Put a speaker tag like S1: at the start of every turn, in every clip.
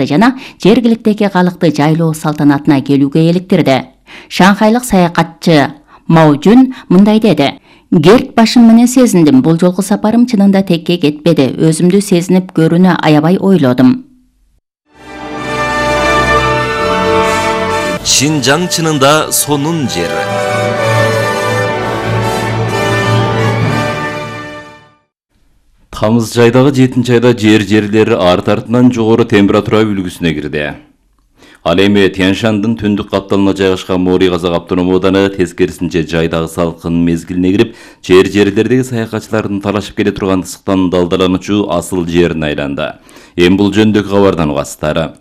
S1: жана жергиликтеги калыкты жайлоо салтанатына келүүгө эликтирди. Шанхайлык саякатчы Мао Жун мындай деди: "Герт башым менен сезиндим. Бул жолку сапарым чынында текке кетпеди. Өзүмдү сезинип көрүүнү аябай ойлодум."
S2: Шинжаң чынында сонун жер. Тамыз жайдагы 7-айда жерлер арт-артынан жогору температура үлгүсүнө кирди. Ал эми Тянь-Шандын түндүк капталына жайгашкан Мори казак автономдук ооданы тескерисинче жайдагы салкын мезгилине кирип, жерлердеги саякатчылардын талашып келе турган ысыктан далдалануучу асыл жерине айланды. Эми бул жөнүндөгү кабардан угасыздар.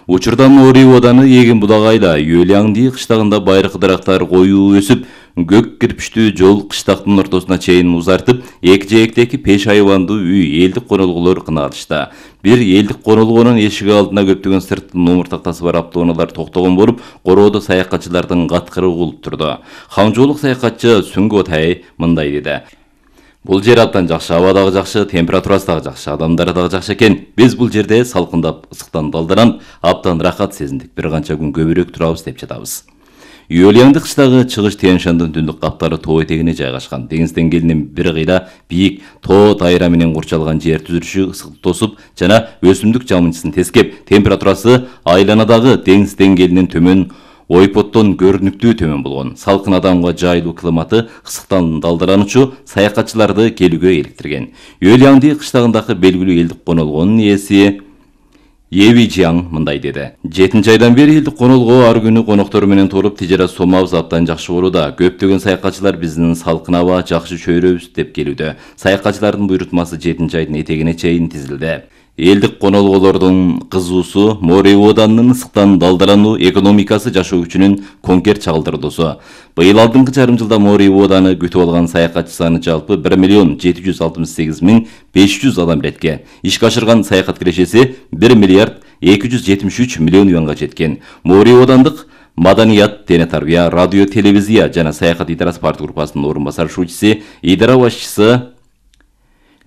S2: Учурда Мори ооданы эгин будагайла Юэлянди кыштагында байыркы дарактар коюу өсүп, көк кирпичтүү жол кыштактын ортосуна чейин узартып, эки жээктеги 5 айвандуу үй элдик конолгулор кынаалышты. Бир элдик конолгонун эшиги алдына көптөгөн сырттын омуртактасы бар автоунаалар токтогон болуп, короодо саякатчылардын каткыры угулуп турду. Хамжоолук саякатчы Сүнгө Тай мындай деди: "Бул жер абдан жакшы, аба дагы жакшы, температурасы дагы жакшы, адамдары дагы жакшы экен. Биз бул жерде салкындап, ысыктан далдаланып, абдан рахат сезиндик. Бир канча күн көбүрөөк турабыз деп жатабыз." Юэлянди кыштагы чыгыш Тянь-Шандын түндүк каптары тоо этегине жайгашкан. Деңиз деңгээлинин бир кыйла биик тоо тайра менен курчалган жер түзүлүшү ысыкты тосуп жана өсүмдүк жамынчысын тескеп, температурасы айланадагы деңиз деңгээлинен төмөн ойпоттон көрүнүктүү төмөн болгон. Салкын адамга жайлуу климаты ысыктан далдалануучу саякатчыларды келүүгө иликтирген. Юэлянди кыштагындагы белгилүү элдик конолгонун ээси Еви Жиаң мындай деди: "7-айдан бери элдик конолго ар күнү коноктор менен толуп, тижарат сомабыз абдан жакшы болууда. Көптөгөн саякатчылар биздин салкын аба, жакшы чөйрөбүз деп келүүдө. Саякатчылардын буйрутмасы 7-айдын этегине чейин тизилди." Элдик конолголордун кызуусу Мори ооданынын ысыктан далдалануу экономикасы жашоо күчүнүн конкер чагылдырдуусу. Быйыл алдыңкы жарым жылда Мори ооданы күтүп алган саякатчы саны жалпы 1,768,500 адам иретке. Ишке ашырган саякат кирешеси 1,273 миллион юанга жеткен. Мори оодандык Маданият, дене тарбия, радио, телевизия жана саякат идарасы парт группасынын орун басарчысы, идара башчысы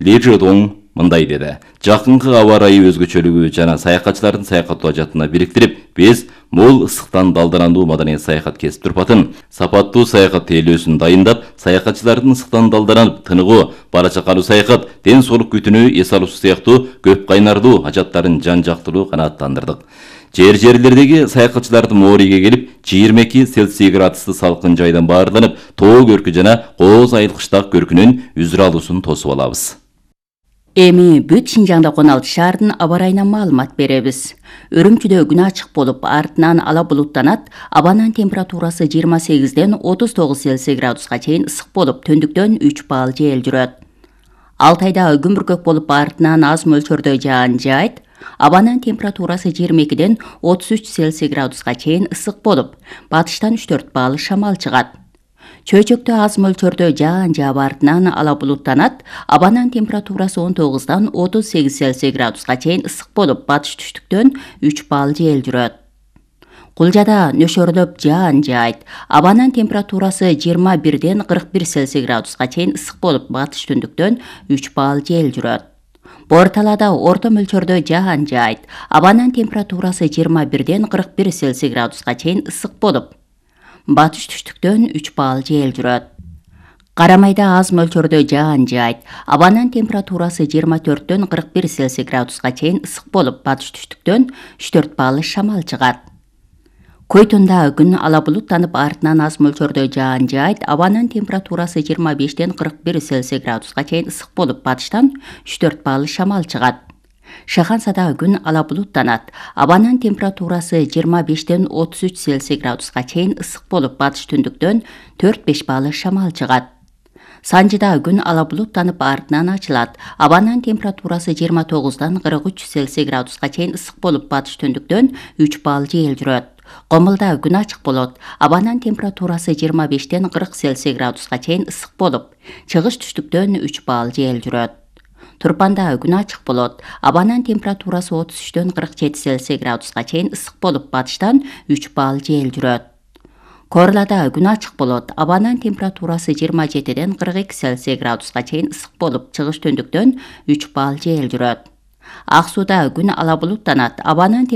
S2: Ли Жодоң мындай деди: "Жакынкы аба ырайы өзгөчөлүгү жана саякатчылардын саякаттоо ажатына бириктирип, биз мол ысыктан далдалануу маданий саякат кесип турпатын, сапаттуу саякат тейлөөсүн дайындап, саякатчылардын ысыктан далдаланып тыныгуу, бара чакалуу саякат, ден соолук күтүүнү эс алуусу сыяктуу көп кайнардуу ажаттарын жан жактылуу канааттандырдык. Жерлердеги саякатчыларды Мориге келип, 22 Цельсий градустуу салкын жайдан баарланып, тоо көркү жана кооз айыл кыштак көркүнүн үзүр алуусун тосуп алабыз."
S1: Эми бүт Шинжаңда 16 шаардын аба ырайынан маалымат беребиз. Үрүмчүдө күн ачык болуп, артынан ала булуттанат. Абанын температурасы 28ден 39 Цельсий градуска чейин ысык болуп, түндүктөн 3 балл жел жүрөт. Алтайда күн бүркөк болуп, артынан аз мөлчөрдө жаан жаайт. Абанын температурасы 22ден 33 Цельсий градуска чейин ысык болуп, батыштан 3-4 балл шамал чыгат. Чөйчөктө аз мөлчөрдө жаан жаап, артынан ала булуттанат. Абанын температурасы 19дан 38 Цельсий градуска чейин ысык болуп, батыш түштүктөн 3 балл жел жүрөт. Кулжада нөшөрлөп жаан жаайт. Абанын температурасы 21ден 41 Цельсий градуска чейин ысык болуп, батыш түндүктөн 3 балл жел жүрөт. Борталада орто мөлчөрдө жаан жаайт. Абанын температурасы 21ден 41 Цельсий градуска чейин ысык болуп, батыш түштүктөн 3 балл жел жүрөт. Карамайда аз мөлчөрдө жаан жаайт. Абанын температурасы 24дөн 41 Цельсий градуска чейин ысык болуп, батыш түштүктөн 3-4 балл шамал чыгат. Койтунда күн ала булуттанып, артынан аз мөлчөрдө жаан жаайт. Абанын температурасы 25ден 41 Цельсий градуска чейин ысык болуп, батыштан 3-4 балл шамал чыгат. Шахансада күн ала булуттанат. Абанын температурасы 25ден 33 Цельсий градуска чейин ысык болуп, батыш түндүктөн 4-5 балл шамал чыгат. Санжыда күн ала булуттанып, артынан ачылат. Абанын температурасы 29дан 43 Цельсий градуска чейин ысык болуп, батыш түндүктөн 3 балл жел жүрөт. Комулда күн ачык болот. Абанын температурасы 25ден 40 Цельсий градуска чейин ысык болуп, чыгыш түштүктөн 3 балл жел жүрөт. Турпанда күн ачык болот. Абанын температурасы 33дөн 47 Цельсий градуска чейин ысык болуп, батыштан 3 балл жел жүрөт. Корлада күн ачык болот. Абанын температурасы 27ден 42 Цельсий градуска чейин ысык болуп, чыгыш түндүктөн 3 балл жел жүрөт. Ак сууда күн ала булуттанат. Абанын